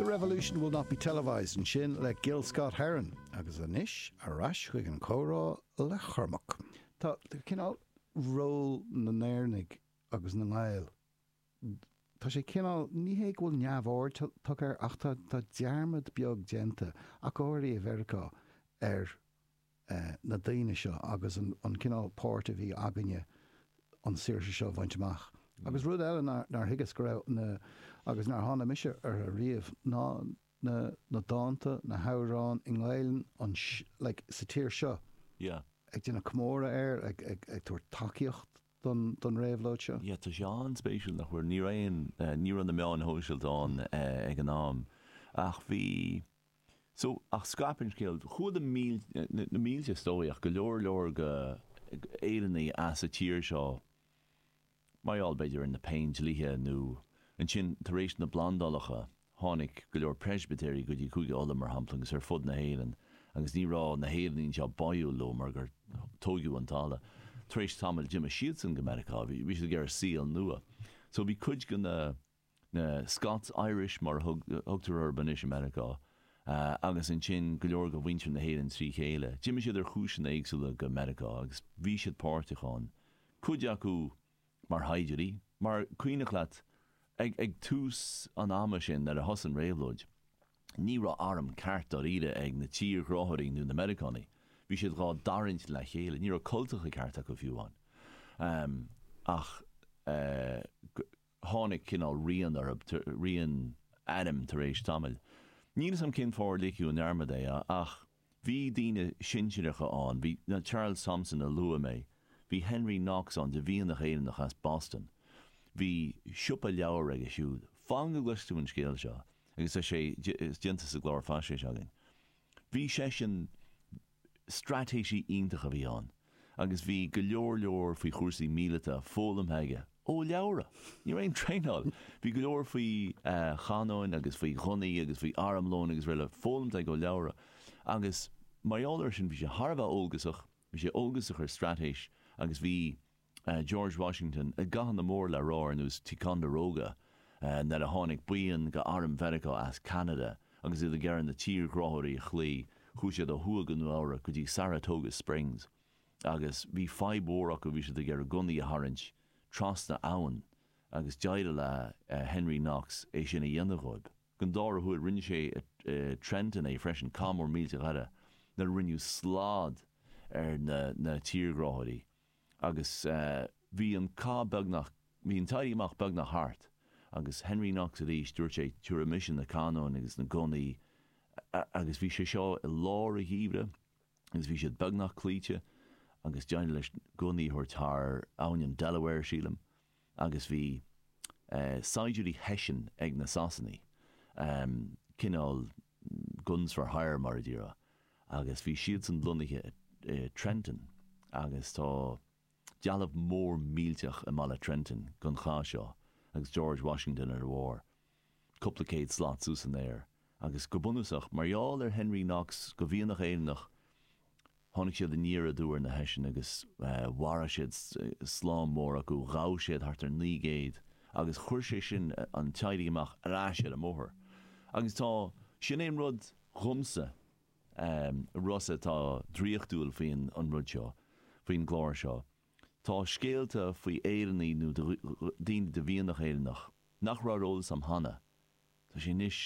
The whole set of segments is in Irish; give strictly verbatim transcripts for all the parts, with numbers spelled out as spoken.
The Revolution Will Not Be Televised ansin le Gil Scott Heron agus anois ar ais chuig an chomhrá le Cormac. Tá cineál ról na nÉireannach agus na nGael. Tá sé cineál ní hé go bhfuil neamhaird tugtha air ach tá tá dearmad beag déanta ach go háirithe i Meiriceá ar eh, na daoine seo agus an, an cineál páirt a bhí againne an saoirse seo a bhaint amach. Agus rud eile nár nár thuigeas go raibh na agus nár tháinig mise orthu riamh ná na na dánta na hamhráin i nGaeilge an like, sa tír seo Yeah. ag déanamh comóradh air ag ag ag tabhairt tacaíocht don don réabhlóid seo. Yeah, tá sé an-spéisiúil nach bhfuil ní raon ní raibh na meáin shóisialta ann ag an am ach bhí so ach scaip an scéal chuaigh na na mílte is dóigh ach go leor leor go Éireannaigh as an tír seo mar gheall b'fhéidir ar na péindlíthe nó ansin tar éis na bplandálacha tháinig go leor Preispitéirí go dtí Cúige Uladh mar shampla agus ar fud na hÉireann agus ní raibh na hÉireannaigh seo báúil leo mar gur tógadh an talamh. Tar éis tamaill d'imigh siadsan go Meiriceá, bhí bhí siad ag iarraidh saol nua. So bhí cuid de na na Scots Irish mar a thug thugtar orthu anois i Meiriceá uh, agus ansin go leor de mhuintir na hÉireann trí chéile. D'imigh siad ar chúiseanna éagsúla go Meiriceá agus bhí siad páirteach ann. Cuid acu mar shaighdiúirí, mar cuimhnigh leat ag, ag tús an ama sin nuair a thosaigh an réabhlóid. Ní raibh arm ceart dáiríre ag na tírghráthóirí nó na Meiriceánaigh. Bhí siad dhá dtarraingt le chéile, ní raibh cultacha ceart acu fiú amháin. Um, ach uh, tháinig cineál rian orthu rian airm tar éis tamaill. Níl a fhios agam cén fáth ar ligeadh i ndearmad é ach bhí daoine sinsearacha ann, bhí na Charles Thomson a luaigh mé, bhí Henry Knox ann de mhianach Éireannach as Boston. Bhí siopa leabhar aige siúd. Fan go gcloisfidh tú an scéal seo agus tá sé déanta sa gclár faisnéise againn. Bhí seisean straitéisí iontach a bhí ann, agus bhí go leor leor faoi chúrsaí míleata foghlamtha aige ó leabhra. Ní raibh aon traenáil. Bhí go leor faoi uh, chanóin agus faoi ghunnaí agus faoi armlón agus araile foghlamtha aige ó leabhra. Agus mar gheall air sin bhí sé thar a bheith eolgasach, bhí sé eolgasach ar straitéis agus bhí uh, George Washington i gcathanna mór le rá ar nós Ticonderoga uh, nuair a tháinig buíon de arm Mheiriceá as Canada agus iad ag iarraidh na tírghráthóirí a chloí, chuaigh siad ó thuaidh go Nua-Eabhrac go dtí Saratoga Springs. Agus bhí fadhb mhór acu bhí siad ag iarraidh gunnaí a tharraingt trasna abhann agus d'éirigh le uh, Henry Knox é sin a dhéanamh dóibh. Don dara huair rinne sé uh, Trenton é freisin cath mór millteach eile nuair a rinneadh slad ar na, na tírghráthóirí. Agus uh, bhí an cath beagnach bhí an t-éirí amach beagnach thart agus Henry Knox arís dúirt sé tabharfaidh mise na canóin agus na gunnaí agus bhí sé seo i lár an gheimhridh agus bhí siad beagnach cloíte agus d'éirigh leis gunnaí a thabhairt thar abhainn an Delaware sílim agus bhí uh, saighdiúirí Hessian ag na Sasanaigh um, cineál guns for hire mar a déarfá agus bhí siadsan lonnaithe i Trenton agus tá dealbh mór millteach i mbaile Trenton den chath seo agus George Washington ar a bharr. Cúpla céad slat suas san aer agus go bunúsach mar gheall ar Henry Knox de mhianach Éireannach tháinig siad aniar aduaidh ar na Hessian agus uh, mharaigh siad slám mór acu ghabh siad thart ar naoi gcéad agus chuir sé sin an t-éirí amach ar ais ar an mbóthar. Agus tá sin é an rud dhomsa um, Rossa atá draíochtúil faoin an rud seo, faoin gclár seo. Tá scéalta faoi Éireannaigh nó daoine de mhianach Éireannach nach raibh ar eolas agam cheana. Tá sé anois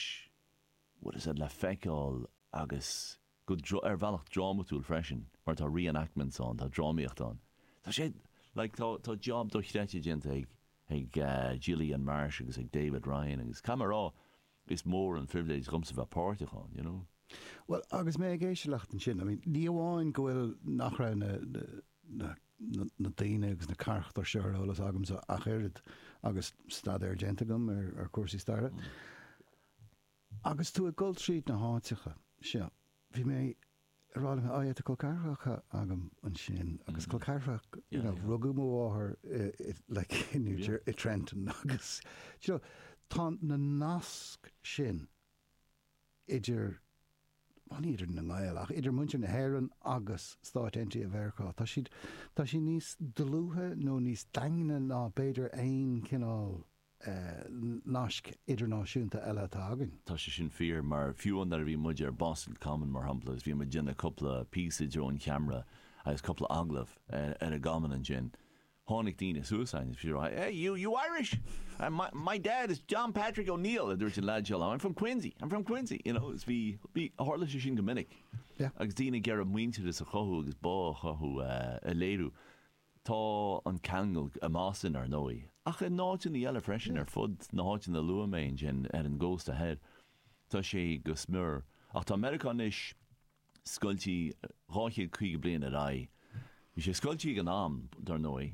what is it le feiceáil agus go ar bhealach drámatúil freisin, mar tá reenactments ann, tá drámaíocht ann. Tá sé like, tá, tá job dochreidte déanta ag ag uh, Gillian Marsh agus ag David Ryan agus camará is mór an privilege dhomsa bheith páirteach ann, you know. Well, agus mé ag éisteacht ansin, I mean, ní amháin go bhfuil nach raibh na, na, na, na daoine agus na carachtair seo ar eolas agamsa ach oiread agus staidéar déanta agam ar, ar cúrsaí staire. Mm. Agus tú ag dul tríd na háiteacha seo, bhí mé ag rá liom tá col ceathracha agam ansin agus col ceathrach you know, rugadh mo mháthair like in New yeah. i Trenton agus you know, tá na nasc sin idir well, ní idir na nGael ach idir muintir na hÉireann agus Stáit Aontaithe Mheiriceá. Tá siad tá sí níos dlúithe nó níos daingne ná b'fhéidir aon cineál naisc idirnáisiúnta eile atá againn. Tá sé sin fíor, mar fiú nuair a bhí muid ar Boston Common, mar shampla, is bhí muid ag déanamh cúpla píosa i dtreo an cheamara agus cúpla agallamh ar an gCommon ansin, tháinig daoine suas chugainn is bhí siad ag rá, "Hey, you, you Irish? And my, my dad is John Patrick O'Neill," a dúirt an leaid seo, "I'm from Quincy, I'm from Quincy," you know, is bhí, bhí, tharla sé sin go minic. Yeah. Agus daoine ag iarraidh muintearas a chothú agus bá a chothú a léiriú. Tá an ceangal i mBoston ar ndóigh, ach in áiteanna eile freisin ar fud na háiteanna a luaigh mé ansin ar an gcósta thoir. Tá sé go smior. Ach tá Meiriceá anois scoilte dhá chéad caoga bliain ar aghaidh. Bhí sé scoilte ag an am, dar ndóigh,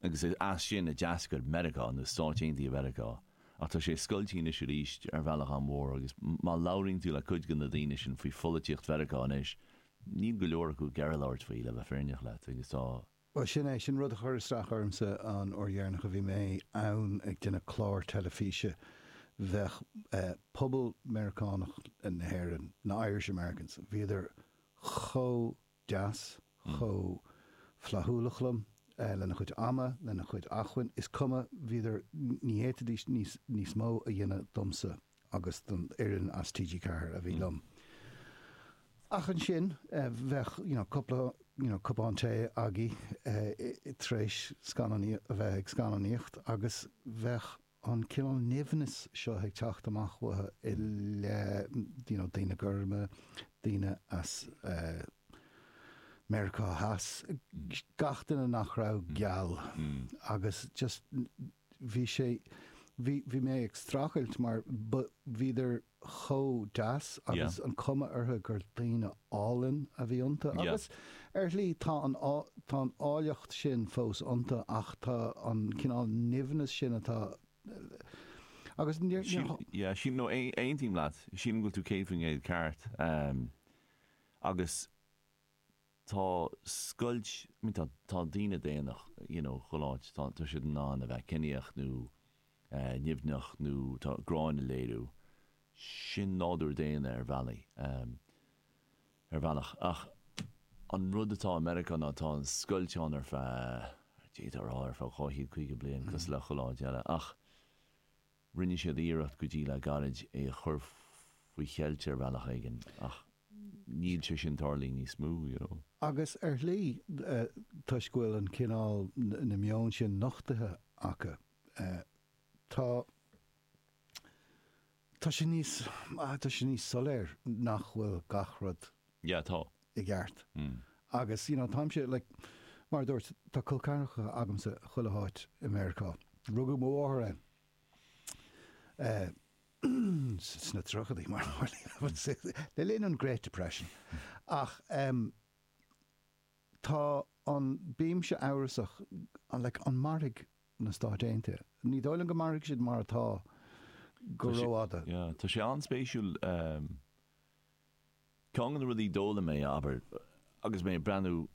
agus is as sin a d'eascair Meiriceá, nó Stáit Aontaithe Mheiriceá. Ach tá sé scoilte anois arís ar bhealach an-mhór agus má labhraíonn tú le cuid de na daoine sin faoi pholaitíocht Mheiriceá anois, níl go leor acu ag iarraidh labhairt faoi, le bheith fírinneach leat, agus tá. Bhuel, sin é, sin rud a chuir isteach ormsa an uair dheireanach a bhí mé ann ag déanamh clár teilifíse. Bheadh pobal Meiriceánach na hÉireann, na Irish Americans, bhíodar chomh deas, chomh flaithiúlach liom, lena chuid ama, lena chuid acmhainn, is cuma, bhíodar, ní fhéadfaidís níos, níos mó a dhéanamh domsa agus don fhoireann as T G Ceathair a bhí liom. Ach ansin, bheadh, you know, cúpla, you know, cupán tae agaí tar éis scannánaí, a bheith ag scannánaíocht agus bheadh an cineál nimhneas seo ag teacht amach uathu i leith, you know, daoine gorma, daoine as Meiriceá Theas, gach duine nach raibh geal agus just bhí sé, bhí, bhí mé ag streachailt mar bhíodar chomh deas agus an cuma orthu gur daoine álainn a bhí iontu agus ar shlí tá an tá an áilleacht sin fós iontu ach tá an cineál nimhneas sin atá agus níor Yeah, sílim, no, aontaím leat, sílim go bhfuil tú céad faoin gcéad ceart agus tá scoilt, I mean tá tá daoine daonna, you know, chuile áit, tá tá siad in ann a bheith ciníoch nó nimhneach nó tá gráin a léiriú. Sin nádúr daonna ar bhealaí, ar bhealach. Ach an rud atá i Meiriceá ná tá an scoilt ann ar feadh, d'fhéadfá a rá ar feadh dhá chéad caoga bliain, cosúil le chuile áit eile. Ach rinne siad iarracht go dtí le gairid é a chur faoi cheilt ar bhealach éigin ach níl sé sin tarlaithe níos mó, you know. Agus ar shlí, toisc go bhfuil an cineál, na meoin sin nochtaithe acu, tá, tá sé níos, tá sé níos soiléir nach bhfuil gach rud Yeah, tá. i gceart. Agus, you know, táimse, like, mar a dúirt, tá col ceathracha agamsa chuile háit i Meiriceá. Rugadh mo mháthair ann. Eh, sna tríochaidí, mar le linn an Great Depression. Ach em, tá an, bímse amhrasach, an, like, an mairfidh na Stáit Aontaithe? Ní dóigh liom go mairfidh siad mar atá go Tá sé- rófhada. Yeah, tá sé an-spéisiúil um, ceann de na rudaí a d'fhoghlaim mé, abair, agus mé ag breathnú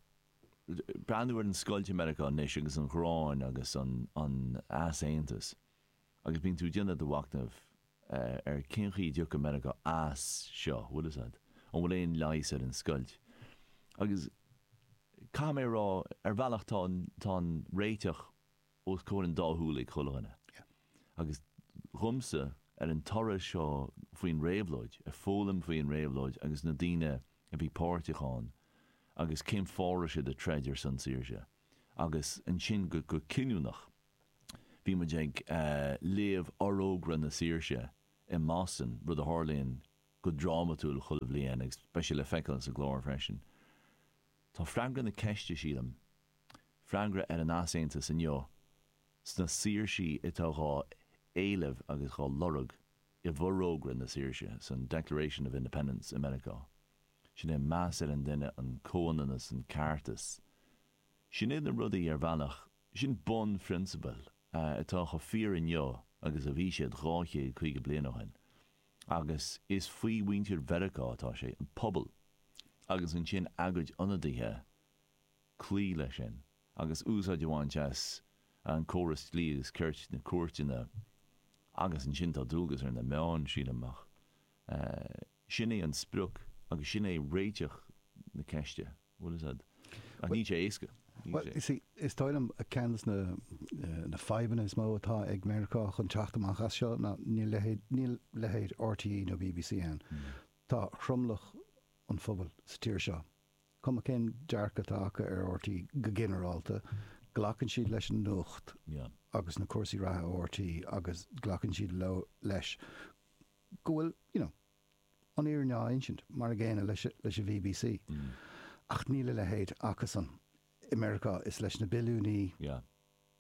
breathnú ar an scoilt i Meiriceá anois agus an ghráin agus an, an easaontas. Agus bíonn tú ag déanamh do mhachnaimh uh, ar cén chaoi a dtiocfaidh Meiriceá as seo, bhfuil a fhios agat? An bhfuil aon leigheas ar an scoilt? Agus caithfidh mé a rá, ar bhealach tá an, tá an réiteach os comhair an dá shúil ag chuile dhuine. Yeah. Agus dhomsa ar an turas seo faoin réabhlóid, ag foghlaim faoin réabhlóid agus na daoine a bhí páirteach ann agus cén fáth a raibh siad ag troid ar son saoirse. Agus ansin go, go cinniúnach, bhí muid ag uh, léamh Fhorógra na Saoirse i mBoston, rud a tharlaíonn go drámatúil chuile bhliain agus beidh sé le feiceáil sa gclár freisin. Tá freagra na ceiste sílim, freagra ar an easaontas inniu, sna saoirsí atá dhá éileamh agus dhá lorg i bhForógra na Saoirse, san Declaration of Independence i Meiriceá. Sin é meas ar an duine, an comhionannas, an ceartas. Sin iad na rudaí ar bhealach, sin bunphrionsabail atá chomh fíor inniu agus a bhí siad dhá chéad caoga bliain ó shin. Agus is faoi mhuintir Mheiriceá atá sé, an pobal, agus ansin a gcuid ionadaithe cloí leis sin agus úsáid a bhaint as an córas dlí agus cirt, na cúirteanna, agus ansin tá dualgas ar na meáin, sílim, ach sin é an sprioc agus sin é réiteach na ceiste, bhfuil a fhios agat. Ach níl sé éasca, níl Well, you see, is dóigh liom ceann de na na fadhbanna is mó atá ag Meiriceá chun teacht amach as seo ná níl leithéid níl leithéid RTÉ nó BBC ann. Tá tromlach an phobail sa tír seo. Cuma cén dearcadh atá acu ar RTÉ go ginearálta, glacann siad leis an nuacht Yeah. agus na cúrsaí reatha RTÉ agus glacann siad leo leis go bhfuil, you know, an fhírinne á insint mar an gcéanna leis leis an BBC. Mm. Ach níl a leithéid acusan. I Meiriceá is leis na billiúnaí Yeah.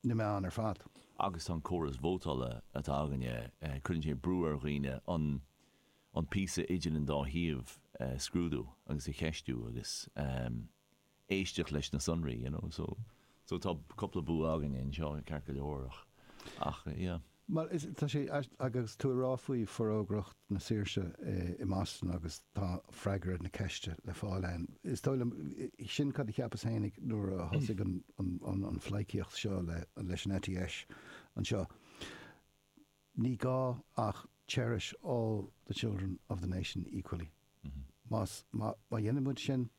na meáin ar fad. Agus an córas vótála atá againne eh, cuireann sé brú ar dhaoine an an píosa idir an dá thaobh eh, scrúdú agus a cheistiú agus um, éisteacht leis na sonraí, you know, so so tá cúpla bua againne anseo ceart go leor ach ach yeah. Well, is, tá sé agus tú ag rá faoi Forógracht na Saoirse eh, i mBoston agus tá freagra na ceiste le fáil ann. Is dóigh liom sin cad a cheapas féinig nuair a thosaigh an, an, an, an phleidhcíocht seo le, leis an eite dheis anseo. Ní gá ach cherish all the children of the nation equally. Mm -hmm. Más má, má dhéanann muid sin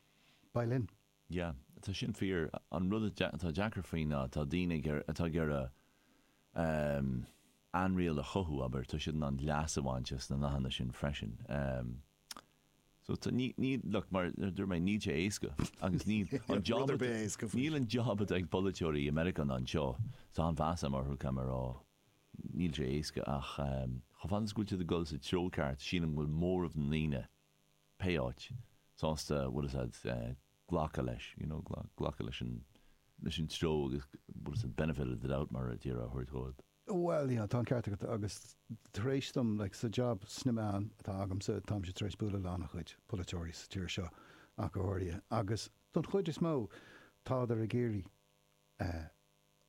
beidh linn. Yeah, tá sin fíor an rud atá deacair faoi ná tá daoine atá ag iarraidh um, ainriail a chothú abair tá siad an leas a bhaint as na nathanna sin freisin. Um, so tá ní ní look mar dúirt mé níl sé éasca agus ní an job Rud ar bith éasca faoi. níl an job atá ag polaiteoirí i Meiriceá anseo tá an-mheas agam orthu cam rá níl sé éasca ach um, chomh fada is go bhfuil siad ag dul sa treo ceart sílim go bhfuil móramh na ndaoine pé áit sásta bhfuil siad uh, glacadh leis you know, glacadh leis an leis an treo agus bhfuil siad benefit of the doubt mar a deir a thabhairt dóibh. Well, you know, tá an ceart agat agus tar éis dom like, sa job sna meáin atá agamsa táimse tar éis bualadh le an-chuid polaiteoirí sa tír seo ach go háirithe. Agus don chuid is mó tádar ag iarraidh uh,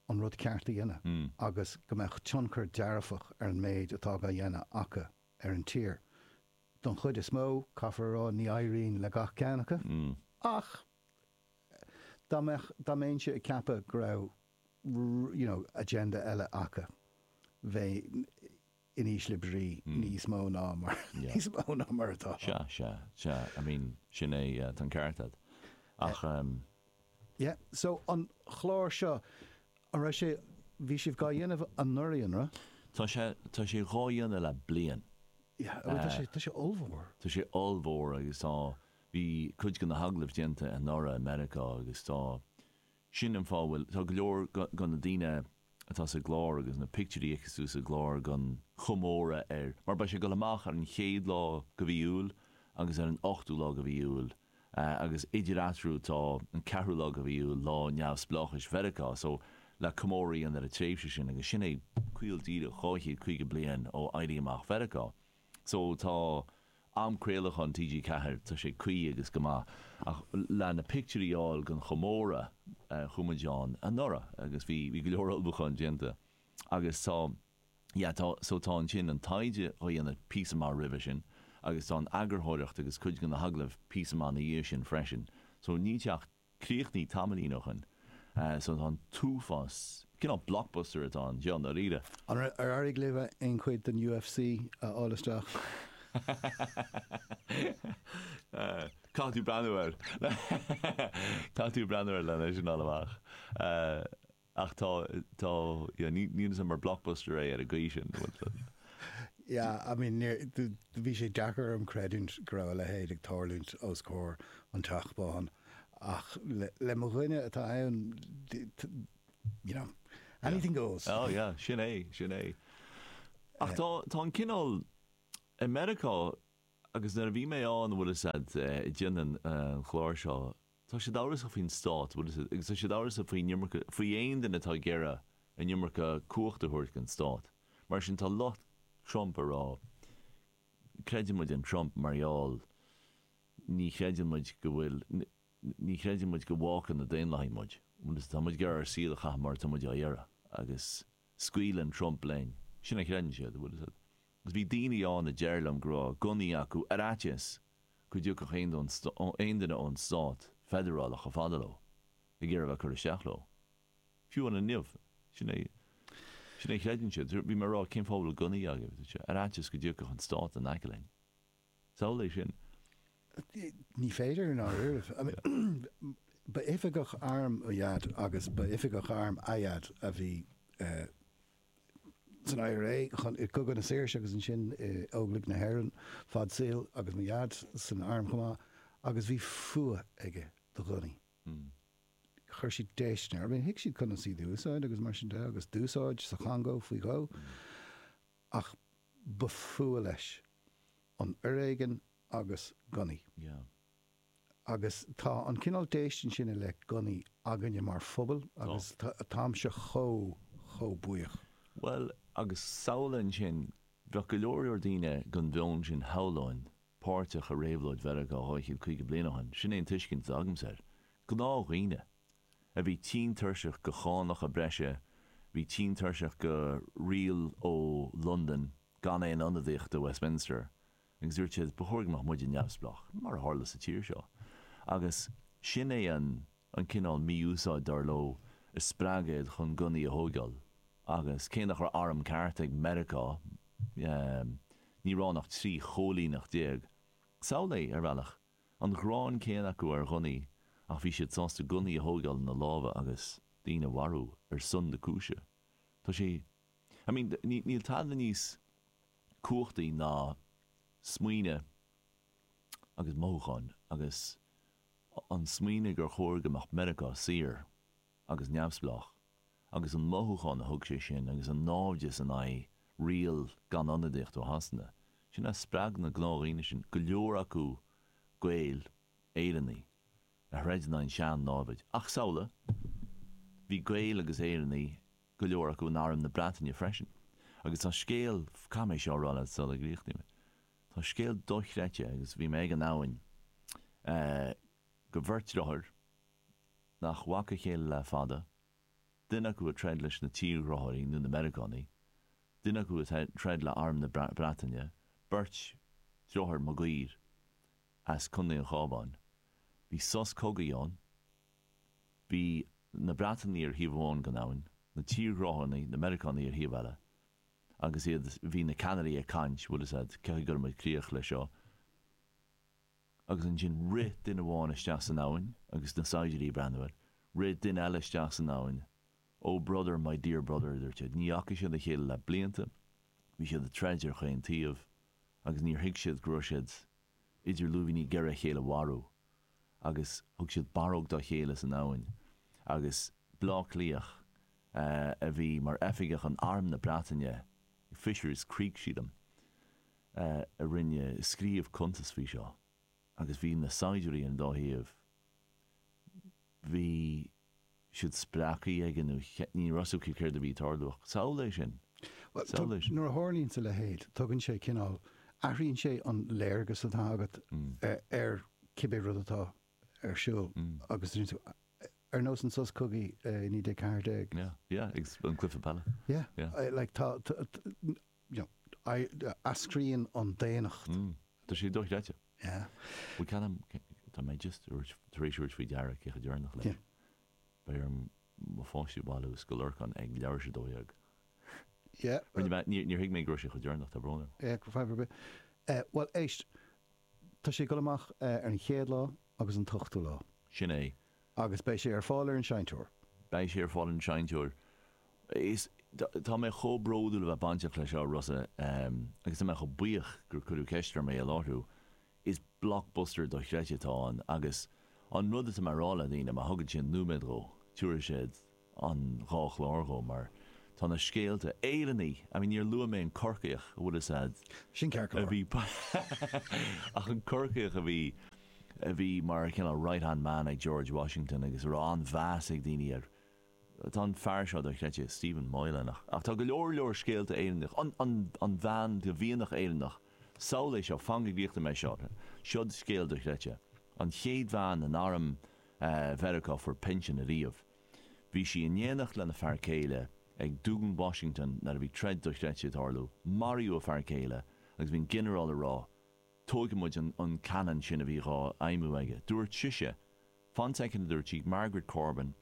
an rud ceart a dhéanamh Mm. agus go mbeadh tionchar dearfach ar an méid atá á dhéanamh acu ar an tír. Don chuid is mó caithfear rá ní éiríonn le gach ceann acu Mm. ach dá mbeadh dá mbeinnse ag ceapadh go raibh r- you know, agenda eile acu bheinn in ísle brí Mm. níos mó ná mar Yeah. níos mó ná mar atá. Sea sea sea I mean sin é uh, tá an ceart agat. Ach um, Yeah, so an chlár seo an raibh sé bhí sibh á dhéanamh anuraidh an raibh? tá sé tá sé dhá dhéanamh le bliain. Yeah, tá sé tá sé ollmhór. Tá sé ollmhór agus tá bhí cuid de na hagallaimh déanta anuraidh i Meiriceá agus tá sin an fáth bhfuil tá go leor de na daoine atá sa gclár agus na pictiúirí acu sa gclár don chomóradh ar mar beidh sé ag dul amach ar an chéad lá de mhí Iúil agus ar an ochtú lá de mhí Iúil uh, agus idir eatarthu tá an ceathrú lá de mhí Iúil lá neamhspleáchais Mheiriceá so le comóradh an ar an tréimhse sin agus sin é caol díreach dhá chéad caoga bliain ó éirí amach Mheiriceá. So tá am craolacháin TG Ceathair tá sé cuí agus go maith ach le na pictiúirí a fháil don chomóradh uh, chuaigh muid ann anuraidh agus bhí bhí go leor ullmhúchán déanta agus tá yeah, tá so tá ansin an taighde á dhéanamh píosa maith roimhe sin agus tá an eagarthóireacht agus cuid de na hagallaimh píosa maith ina dhiaidh sin freisin. So níl sé ach críochnaithe tamaillín ó shin. Uh, so tá an t-uafás cineál blockbuster atá anseo dáiríre. An ar éirigh libh aon chuid den UFC a fháil isteach? Uh, Caithfidh tú breathnú air Caithfidh tú breathnú air lena sin amach. Uh, ach tá tá ní ní mar blockbuster é ar an gcaoi sin. Yeah, I mean bhí sé deacair dom creidiúint go raibh a leithéid ag tarlúint os comhair an Teach Bán ach le, le mo dhuine atá ann you know, anything goes. Oh yeah, sin é sin é. Ach tá tá an cineál i Meiriceá agus nuair a bhí mé ann bhfuil siad ag déanamh an chlár seo, tá siad amhrasach faoin stát agus tá siad amhrasach faoin iomarca faoi aon duine atá ag iarraidh an iomarca cumhacht a thabhairt don stát. Mar sin tá lucht Trump ag rá creideann muid in Trump mar gheall ní chreideann muid go bhfuil ní chreideann muid go bhfágann na Daonlathaigh muid. Tá muid ag iarraidh ár saol a chaitheamh mar tá muid á iarraidh agus scaoileann Trump linn. Sin a chreideann siad bhfuil siad. Agus bhí daoine ann a deir liom go raibh gunnaí acu ar fhaitíos go dtiocfadh aon duine ón stát feidearálach chomh fada leo ag iarraidh bheith cur isteach leo. Fiú an inniu sin é sin é chreideann siad, bhí mé ag rá cén fáth a bhfuil gunnaí agaibh ar fhaitíos go dtiocfadh an stát in aice linn. Samhlaigh sin. Ní féidir ná I mean, Ba oifigeach airm mo dhaid agus ba oifigeach airm a dhaid a bhí san I R A chun i gCogadh na Saoirse agus ansin i Óglaigh na hÉireann fad saoil agus mo dhaid san arm chomh maith agus bhí fuath aige do ghunnaí. Chuir siad déistin air. I mean, thuig siad conas iad a úsáid agus mar sin de agus d'úsáid sa Chongó faoi dhó ach ba fuath leis an fhoréigean agus gunnaí. Yeah. Agus tá an cineál déistin sin i leith gunnaí againne mar phobal agus táimse chomh chomh buíoch. Well, agus samhlaigh ansin, bheadh go leor leor daoine den mheon sin shamhlóinn páirteach i réabhlóid Mheiriceá dhá chéad caoga bliain ó shin. Sin é an tuiscint atá agamsa air. Gnáthdhaoine a bhí tinn tuirseach de chánacha breise, bhí tinn tuirseach de riail ó Londain gan aon ionadaíocht i Westminster, agus dúirt siad ba chóir go mbeadh muide neamhspleách, mar a tharla sa tír seo. Agus sin é an an cineál mí-úsáid dar leo a spreag iad chun gunnaí a thógáil. Agus cé nach raibh arm ceart ag Meiriceá, ní raibh ach trí chóilíneacht déag. Samhlaigh, ar bhealach, an ghráin céanna acu ar ghunnaí ach bhí siad sásta gunnaí a thógáil ina lámha agus daoine a mharú ar son na cúise. Tá sé, I mean, níl tada níos cumhachtaí ná smaoineamh agus mothúcháin agus an smaoineamh gur chóir go mbeadh Meiriceá saor agus neamhspleách agus an mothúchán a thug sé sin agus an náimhdeas in aghaidh riail gan ionadaíocht ó Shasana. Sin a spreag na gnáthdhaoine sin, go leor acu Gaeil, Éireannaigh, a throid in aghaidh an sean-náimhid. Ach samhlaigh, bhí Gaeil agus Éireannaigh go leor acu in arm na Breataine freisin. Agus tá scéal, caithfidh mé seo a rá leat sula gcríochnaím. Tá scéal dochreidte agus bhí mé ag an abhainn go bheirt deartháir nach bhfaca a chéile le fada, duine acu ag troid leis na tírghráthóirí nó na Meiriceánaigh, duine acu ag troid le arm na Breataine, beirt deartháir Maguire as Contae an Chabháin. Bhí sos cogaidh ann, bhí na Breatanaigh ar thaobh amháin den abhainn, na tírghráthóirí, na Meiriceánaigh ar thaobh eile, agus iad bhí na ceannairí ag caint, bhfuil fhios agat, cé go muid críoch leis seo. Agus ansin rith duine amháin isteach san abhainn agus na saighdiúirí ag breathnú air, rith duine eile isteach san abhainn, "Oh brother, my dear brother," a dúirt siad. Ní fhaca siad a chéile le blianta, bhí siad ag troid ar chaon taobh agus níor thuig siad go raibh siad idir lúibíní ag iarraidh a chéile a mharú. Agus thug siad barróg dá chéile san abhainn agus Bleá Cliathach a bhí mar oifigeach in arm na Breataine, Fisher's Creek sílim, a rinne scríobh cuntas faoi seo agus bhí na saighdiúirí ar an dá thaobh, bhí siad spreagtha aige nó ní raibh fhios acu céard a bhí ag tarlú ach samhlaigh é sin. Samhlaigh é sin. Nuair a tharlaíonn a leithéid, tugann sé cineál, athraíonn sé an léargas atá agat ar cibé rud atá ar siúl agus ar nós an sos cogaidh i naoi déag ceathair déag. Yeah, yeah, agus an cluiche peile. Yeah, like tá, you know, eascraíonn an daonnacht. Tá sé dochreidte. Yeah. Bhuel ceannaim, tá mé just tar éis tabhairt faoi deara cé chomh deireanach leis. Beidh orm mo pháistí a bhailiú as Scoil Lorcáin ag leathuair tar éis a dó dhéag. Yeah. Rinne mé, níor thuig mé go raibh sé chomh deireanach, tá brón orm. Yeah, fadhb ar bith. Bhuel, éist, tá sé ag dul amach ar an chéad lá agus an t-ochtú lá. Sin é. Agus beidh sé ar fáil ar an Seinnteoir. Beidh sé ar fáil ar an Seinnteoir. Is, tá mé chomh bródúil a bheith bainteach leis seo, Rossa, agus tá mé chomh buíoch gur cuireadh ceist orm é a láithriú. Is blockbuster dochreidte atá ann agus an rud atá mé a rá le daoine, má thugann siad nóiméad dhó, tabharfaidh siad an dhá chlár dhó mar tá na scéalta Éireannaigh, I mean níor luaigh mé an Corcaíoch, a bhfuil fhios a'd. Sin ceart go A leor. bhí ach an Corcaíoch a bhí a bhí mar cineál right hand man ag George Washington agus a raibh an-mheas ag daoine air. Tá an fear seo dochreidte, Stephen Moylan, ach ach tá go leor leor scéalta Éireannach, an an an bhean de mhianach Éireannach, samhlaigh seo, fan go gcríochnóidh mé seo, seo scéal dochreidte. An chéad bhean in arm Mheiriceá a fuair pinsean ariamh. Bhí sí in éineacht lena fear céile ag Dún Washington nuair a bhí troid dochreidte ag tarlú. Maraíodh a fear céile agus bhí an ginearál ag rá, tógfaidh muid an an cannon sin a bhí dhá fheidhmiú aige. Dúirt sise, fan soicind a dúirt sí, Margaret Corbin,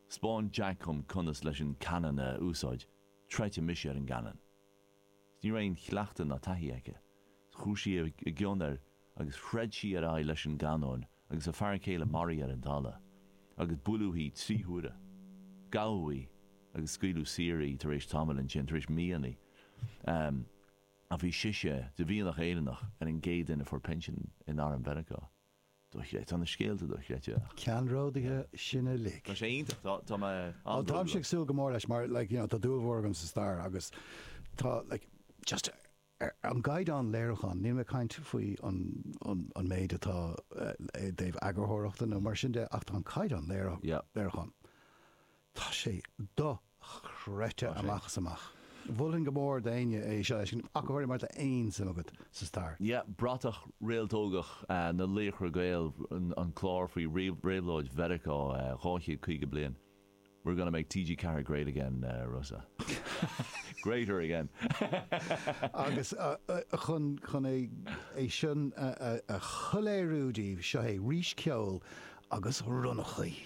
'spáin Jack dhom conas leis an cannon a úsáid, troidfidh mise ar an gcannon. Ní raibh aon chleachtadh ná taithí aici. Chuaigh sí i gcion air agus throid sí ar aghaidh leis an gcanóin agus a fear céile maraithe ar an talamh. Agus buaileadh í trí huaire. Gabhadh í agus scaoileadh saor í tar éis tamaill ansin, tar éis míonna. Um, a bhí sise de mhianach Éireannach ar an gcéad duine a fuair pinsean in arm Mheiriceá. Tá na scéalta dochreidte. Ceannródaithe sin uilig. Tá sé iontach tá mé Tá sé súil go mór leis mar like, you know, tá dúil mhór agam sa stair agus tá like, just an gcaighdeán léiriúcháin, níl mé ag caint faoi an, an, an méid atá uh, i dtaobh eagarthóireachta nó mar sin de ach tá an caighdeán léiriúcháin. Tá sé dochreidte amach is amach. Mholfainn go mór d'éinne é seo ach go mar aon suim agat sa stair. Ja, Bratach Réaltógach uh, na Laochra Gael an, an clár faoi réabhlóid Mheiriceá uh, dhá chéad caoga bliain. We're gonna make TG Ceathair great again, uh, Rossa. Greater again. Agus uh, uh, chun chun é é sin a shoiléiriú daoibh seo é rís ceol agus ronnachaí.